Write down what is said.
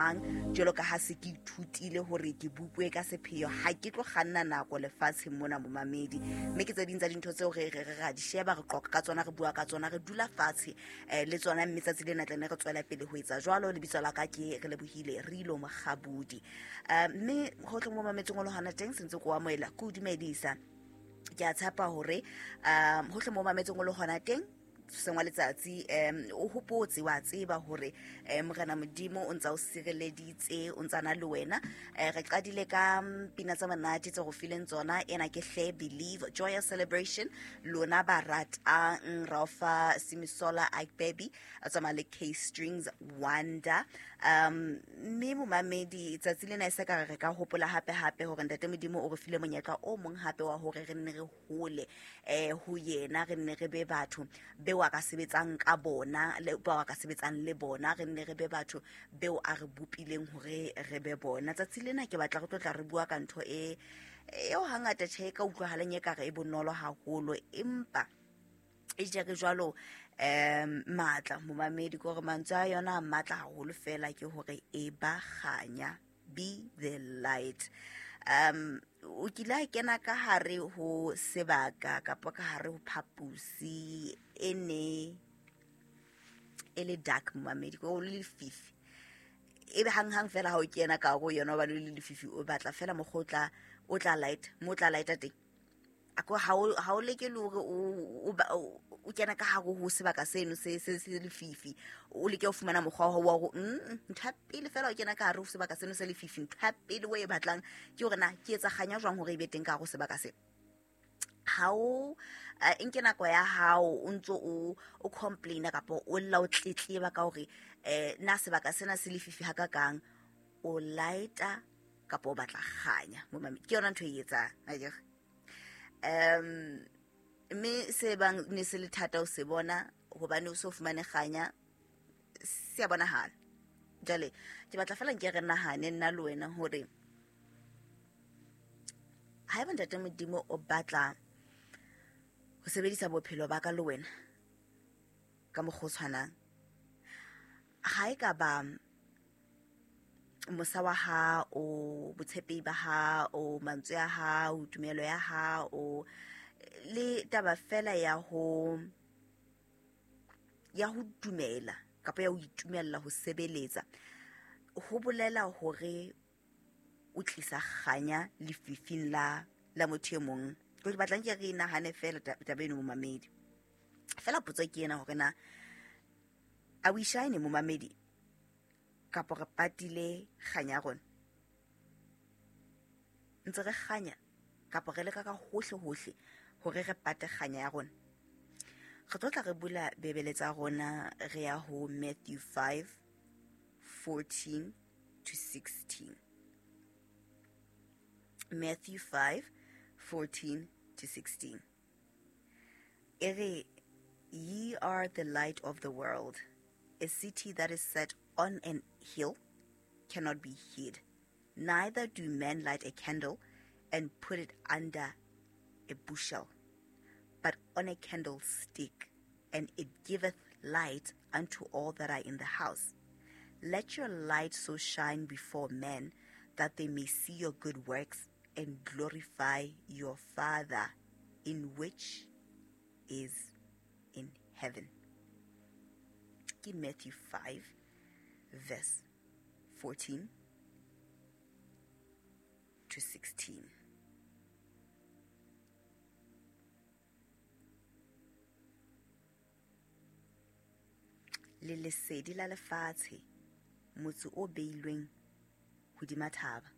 Mang jwalo ka ha se ke ithutile hore ke bupwe ka sepheo, ha ke tlo kganna nako lefatsheng mona, momamedi. Mme ke tse ding tsa dintho tseo re re ra di sheba, re qoqa ka tsona, re bua ka tsona, re dula fatshe le tsona. Mme tsatsi lena tlane re tswela pele ho etsa jwalo. Lebitso la ka ke re lebohile re ilo Mokgabudi. Mme hohle mo mametseng o le hona teng, sentse ko amohela, ke o dumedisa. Ke a tshepa hore hohle mo mametseng o le hona teng, seng wa letsatsi, o hopotse, wa tseba hore Morena Modimo o ntsa o sireleditse, o ntsa na le wena. Re qadile ka pina tsa monate tse go fileng tsona. Ena ke hle Believe Joyous Celebration, lona ba ratang Raofa Simisola Agbebi a tsamaya le K Strings Wonder. Mme momamedi, tsatsi lena e se ka re ka hopola hape hape hore Ntate Modimo o re file monyetla o mong hape wa hore re nne re hole ho yena, re nne re be batho beo a ka sebetsang ka bona le bao a ka sebetsang le bona, re nne re be batho beo a re bopileng hore re be bona. Tsatsi lena ke batla re tlo tla re bua ka ntho e eo hangata tjhe e ka utlwahaleng e kare e bonolo haholo, empa e jere jwalo matla, momamedi, ke hore mantswe a yona a matla haholo fela, ke hore e ba kganya, be the light. O kile a kena ka hare ho sebaka kapa ka hare ho phapusi e ne e le dark, momamedi, ko le lefifi, ebe hang-hang fela ha o kena ka hare ho yona, hobane o le lefifi, o batla fela mokgwa o tla light mo o tla lighta teng. Ako ha o leke le hore o kena ka hare ho sebaka seno se se se lefifi, o leke ho fumana mokgwa wa hore ntho ya pele fela o kena ka hare ho sebaka seno se lefifi, ntho ya pele o e batlang ke hore na ke etsa kganya jwang hore e be teng ka hare ho sebaka se. Ha o nke nako ya hao o ntso o complaina kapa o lla o tletleba ka hore na sebaka sena se lefifi ha ka kang, o lighta kapa o batla kganya, momamedi, ke yona ntho e etsang akere. Mme se bang ne se le thata o se bona hobane o so fumane kganya, se a bonahala. Jwale ke batla fela nke re nahane nna le wena hore haeba Ntate Modimo o batla ho sebedisa bophelo ba ka le wena ka mokgwa o tshwanang, ha e ka ba mosa wa hao, botshepehi ba hao, mantswe a hao, tumelo ya hao, le taba fela ya ho dumela kapa ya ho itumella ho sebeletsa, ho bolela hore o tlisa kganya lefifing la motho e mong. Ke batlang ke re nahane fela taba eno, momamedi. Fela potso ke ena hore na a we shine, momamedi, kapo re patile kganya ya rona? Ntse re kganya kapo re leka ka hohle hohle hore re pate kganya ya rona? Re tlo tla re bula Bibele tsa rona, re ya ho Matthew 5:14 to 16. Matthew 5:14 to 16. E re, ye are the light of the world. A city that is set on an hill cannot be hid. Neither do men light a candle and put it under a bushel, but on a candlestick, and it giveth light unto all that are in the house. Let your light so shine before men that they may see your good works and glorify your Father in which is in heaven. Ke Matthew 5 verse 14 to 16. Le lesedi la lefatshe, motse o beilweng hodima thaba.